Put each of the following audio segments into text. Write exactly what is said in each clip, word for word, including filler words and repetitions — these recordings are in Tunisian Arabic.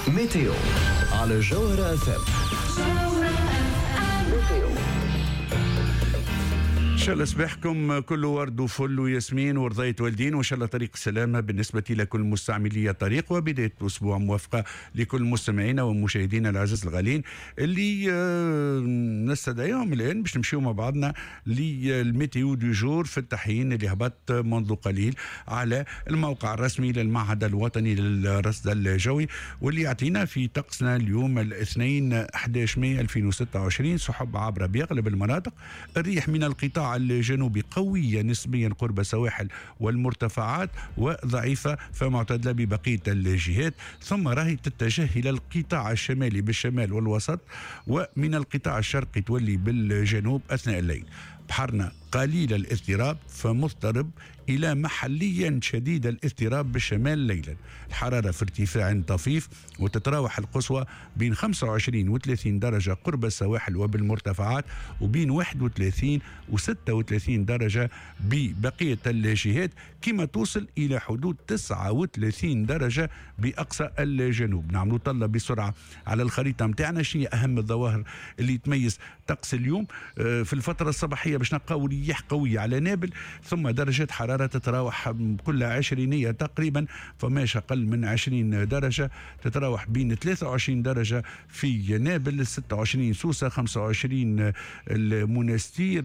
météo على جوهرة اف ام. إن شاء الله صباحكم كله ورد وفل وياسمين ورضاية والدين، وإن شاء الله طريق السلامة بالنسبة لكل مستعملي الطريق، وبداية أسبوع موفقة لكل مستمعينا ومشاهدينا العزاز الغاليين اللي نستدعيهم الآن باش نمشيو مع بعضنا لل météo du jour في التحيين اللي هبط منذ قليل على الموقع الرسمي للمعهد الوطني للرصد الجوي، واللي يعطينا في طقسنا اليوم الاثنين أحد عشر مايو ألفين وستة وعشرين سحب عابرة بأغلب المناطق، الريح من القطاع الجنوبي قوية نسبيا قرب السواحل والمرتفعات وضعيفة فمعتدلة ببقية الجهات، ثم راهي تتجه إلى القطاع الشمالي بالشمال والوسط، ومن القطاع الشرقي تولي بالجنوب أثناء الليل. بحرنا قليل الاضطراب فمضطرب إلى محليا شديد الاضطراب بالشمال ليلا. الحرارة في ارتفاع طفيف وتتراوح القصوى بين خمسة وعشرين وثلاثين درجة قرب السواحل وبالمرتفعات، وبين واحد وثلاثين وستة وثلاثين درجة ببقية الجهات، كما توصل إلى حدود تسعة وثلاثين درجة بأقصى الجنوب. نعملوا طلة بسرعة على الخريطة متاعنا، شنو أهم الظواهر اللي تميز طقس اليوم في الفترة الصباحية؟ باش نلقاو رياح قوية على نابل، ثم درجة حرارة تتراوح كلها عشرينية تقريبا، فماش أقل من عشرين درجة، تتراوح بين ثلاثة وعشرين درجة في نابل، ستة وعشرين سوسة، خمسة وعشرين المنستير،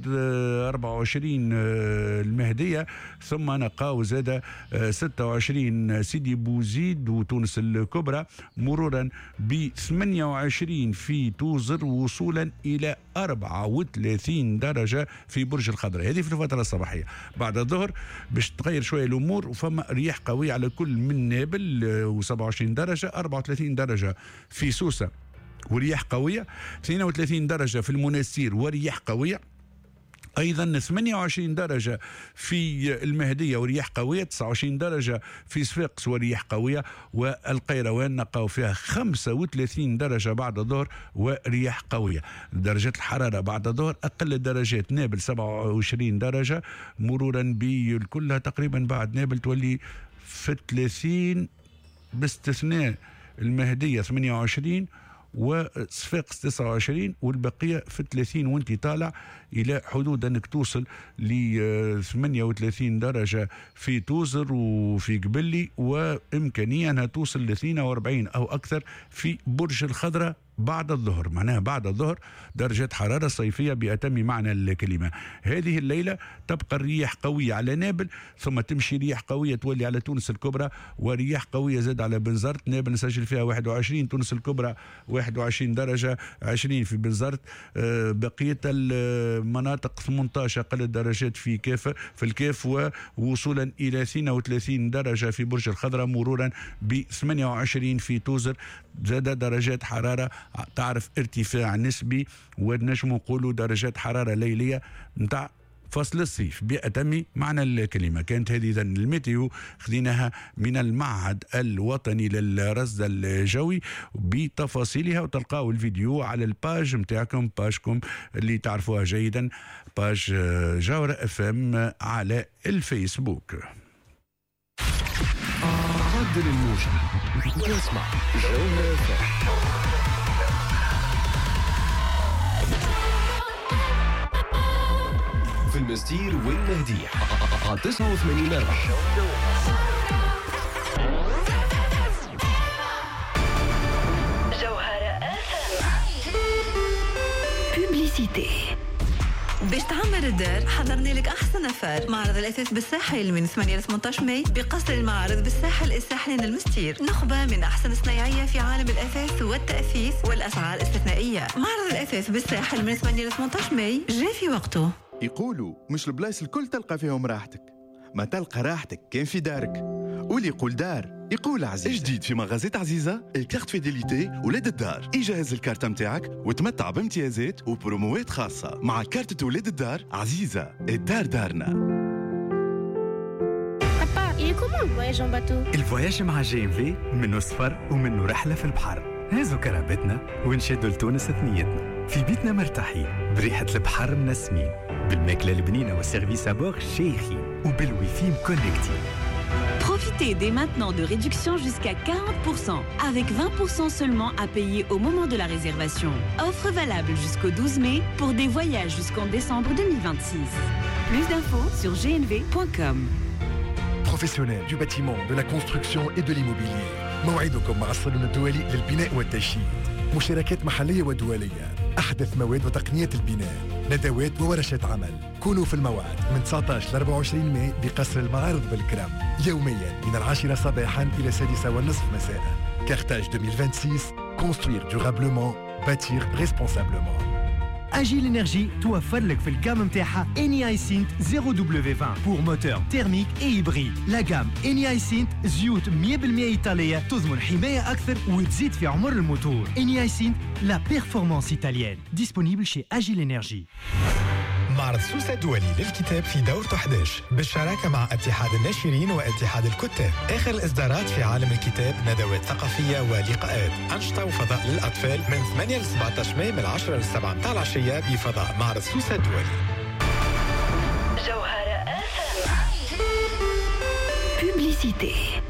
أربعة وعشرين المهدية، ثم نلقاو زادة ستة وعشرين سيدي بوزيد وتونس الكبرى، مرورا ب ثمانية وعشرين في توزر، وصولا إلى أربعة وثلاثين درجة في برج الخضراء. هذه في الفترة الصباحية. بعد الظهر باش تغير شوية الأمور، وفما رياح قوية على كل من نابل وسبعة وعشرين درجة، أربعة وثلاثين درجة في سوسة ورياح قوية، اثنين وثلاثين درجة في المنستير ورياح قوية، أيضا ثمانية وعشرين درجة في المهدية ورياح قوية، تسعة وعشرين درجة في صفاقس ورياح قوية، والقيروان نقاو فيها خمسة وثلاثين درجة بعد الظهر ورياح قوية. درجات الحرارة بعد الظهر أقل الدرجات نابل سبعة وعشرين درجة، مرورا بكلها تقريبا بعد نابل تولي في ثلاثين باستثناء المهدية ثمانية وعشرين وصفاقس تسعة وعشرين، والبقية في ثلاثين وانت طالع إلى حدود أنك توصل ل ثمانية وثلاثين درجة في توزر وفي قبلي، وإمكانية أنها توصل ل اثنين وأربعين أو أكثر في برج الخضراء بعد الظهر. معناها بعد الظهر درجة حرارة صيفية بأتم معنى الكلمة. هذه الليلة تبقى الرياح قوية على نابل، ثم تمشي رياح قوية تولي على تونس الكبرى، ورياح قوية زاد على بنزرت. نابل نسجل فيها واحد وعشرين، تونس الكبرى واحد وعشرين درجة، عشرين في بنزرت، بقية المناطق ثمانية عشر أقل الدرجات في كاف في الكاف، ووصولا إلى اثنين وثلاثين درجة في برج الخضراء، مرورا ب ثمانية وعشرين في توزر. زاد درجات حرارة تعرف ارتفاع نسبي، ونجم نقولوا درجات حرارة ليلية نتاع فصل الصيف بأتم معنى الكلمة. كانت هذه إذن ال météo خذيناها من المعهد الوطني للرصد الجوي بتفاصيلها، وتلقاو الفيديو على ال page نتاعكم، page كم اللي تعرفوها جيدا، page جوهرة اف ام على الفيسبوك. عدل الموجة واسمع جوهرة اف ام. في المستير والمهدية على تسعة وثمانين أربعة. جوهرة publicité. باش تعمر الدار حضرنا لك أحسن affaire. معرض الأثاث بالساحل من ثمانية ل ثمانية عشر ماي بقصر المعارض بالساحل الساحلي المستير. نخبة من أحسن الصنايعية في عالم الأثاث والتأثيث والأسعار استثنائية. معرض الأثاث بالساحل من ثمانية ل ثمانية عشر ماي جاي في وقته. يقولوا مش البلايص الكل تلقى فيهم راحتك، ما تلقى راحتك كان في دارك، واللي يقول دار يقول عزيزة. جديد في مغازات عزيزة ال carte fidélité ولاد الدار، يجهز الكارتة متاعك وتمتع بامتيازات وبروموات خاصة مع كارتة ولاد الدار. عزيزة، الدار دارنا. Papa, il est comment le voyage en bateau؟ ال voyage مع GMV منه سفر ومنه رحلة في البحر. هزوا كرهبتنا ونشدوا لتونس ثنيتنا، في بيتنا مرتاحين بريحة البحر منسمين، بالماكلة البنينة وال service à bord شيخين، وبالويفي مكونكتين. Profitez dès maintenant de réductions jusqu'à quarante pour cent, avec vingt pour cent seulement à payer au moment de la réservation. Offre valable jusqu'au douze mai pour des voyages jusqu'en décembre deux mille vingt-six. Plus d'infos sur G N V point com. Professionnels du bâtiment, de la construction et de l'immobilier، موعدكم مع الصالون الدولي للبناء والتشييد. مشاركات محلية ودولية، أحدث مواد وتقنيات البناء، ندوات وورشات عمل. كونوا في الموعد من تسعة عشر ل أربعة وعشرين ماي بقصر المعارض بالكرم، يوميا من العاشرة صباحا إلى السادسة والنصف مساء. Carthage deux mille vingt-six، construire durablement، bâtir responsablement. Agile Énergie توفر لك في ال gamme نتاعها Eni iSynth zéro W vingt pour moteurs thermiques et hybrides. La gamme Eni iSynth زيوت مية بالمية ايطاليه تضمن حمايه اكثر وتزيد في عمر الموتور. Eni iSynth، la performance italienne، disponible chez Agile Énergie. معرض سوسة الدولي للكتاب في دورته إحدى عشر بالشراكة مع اتحاد الناشرين واتحاد الكتاب. آخر الإصدارات في عالم الكتاب، ندوات ثقافية ولقاءات، أنشطة وفضاء للأطفال، من ثمانية ل سبعة عشر ماي من عشرة ل سبعة متاع العشية بفضاء معرض سوسة الدولي. جوهرة. Publicité.